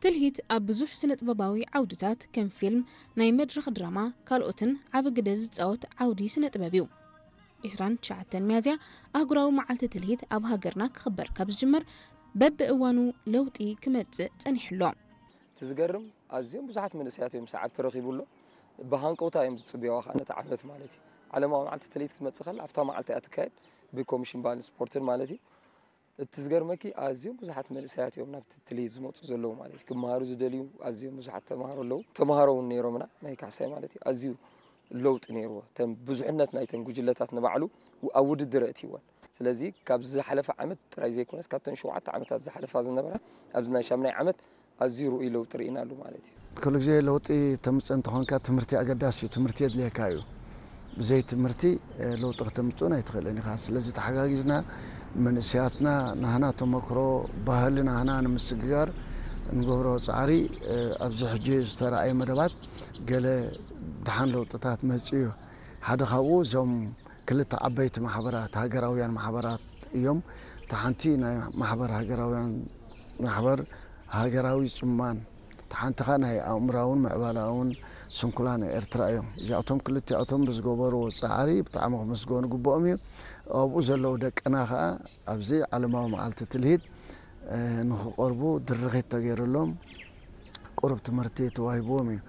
ትልሂት ኣብ ብዙሕ ስነ ጥበባዊ ዓውድታት ከም ፊልም፣ ናይ መድረኽ ድራማ ካልኦትን ዓቢ ግደ ዝጻወት ዓውዲ ስነ ጥበብ እዩ። ዕስራን ትሽዓተን ሚያዝያ ኣህጉራዊ መዓልቲ ትልሂት ኣብ ሃገርና ክኽበር ካብ ዝጅመር በብእዋኑ ለውጢ ክመጽእ ጸኒሑ ኣሎ። እቲ ዝገርም ኣዝዮም ብዙሓት መንእሰያት እዮም ሰዓብ ተረኺቡ ኣሎ። ብሃንቀውታ እዮም ዝጽብያዋ ከዓ ነቲ ዓመት ማለት እዩ። ዓለማዊ መዓልቲ ትልሂት ክትመጽእ ከላ ኣብታ መዓልቲ እያ ትካየድ ብኮሚሽን ባህልን ስፖርትን ማለት እዩ። እቲ ዝገርመኪ ኣዝዮም ብዙሓት መንእሰያት እዮም ናብቲ ትልሂት ዝመጹ ዘለዉ ማለት እዩ። ክመሃሩ ዝደልዩ ኣዝዮም ብዙሓት ተምሃሮ ኣለዉ። ተምሃሮ እውን ነይሮምና ናይ ካሕሳይ ማለት እዩ። ኣዝዩ ለውጢ ነይርዎ። እተን ብዙሕነት ናይተን ጉጅለታት ንባዕሉ ኣብ ውድድር ኣእትይወን። ስለዚ ካብ ዝሓለፈ ዓመት ጥራይ ዘይኮነስ ካብተን ሸውዓተ ዓመታት ዝሓለፋ ዝነበራ ኣብዚ ናይ ሻምናይ ዓመት ኣዝዩ ርኡይ ለውጢ ርኢናሉ ማለት እዩ። ኩሉ ግዜ ለውጢ ተምፅእ እንተኾንካ ትምህርቲ ኣገዳሲ እዩ። ትምህርቲ የድልየካ እዩ። ብዘይ ትምህርቲ ለውጢ ከተምፅኡን ኣይትኽእልን ኢኻ። ስለዚ ተሓጋጊዝና መንእሰያትና ናህና ተመክሮ ባህሊ ናህና ንምስግጋር እንገብሮ ፃዕሪ ኣብዚ ሕጂ ዝተረኣየ መደባት ገለ ደሓን ለውጥታት መፅኡ እዩ። ሓደ ካብኡ እዞም ክልተ ዓበይቲ ማሕበራት ሃገራውያን ማሕበራት እዮም። እታ ሓንቲ ናይ ማሕበር ሃገራውያን ማሕበር ሃገራዊ ጽማን፣ እታ ሓንቲ ኸኣ ናይ ኣእምራውን ምዕባላውን ስንኩላን ኤርትራ እዮም። እዚኣቶም ክልቲኣቶም ብዝገበርዎ ጻዕሪ ብጣዕሚ ክምስገኑ ግብኦም እዩ። ኣብኡ ዘለዉ ደቅና ኸኣ ኣብዚ ዓለማዊ መዓልቲ ትልሂት ንኽቐርቡ ድርኺት ተገይሩሎም ቁሩብ ትምህርቲ ተዋሂብዎም እዩ።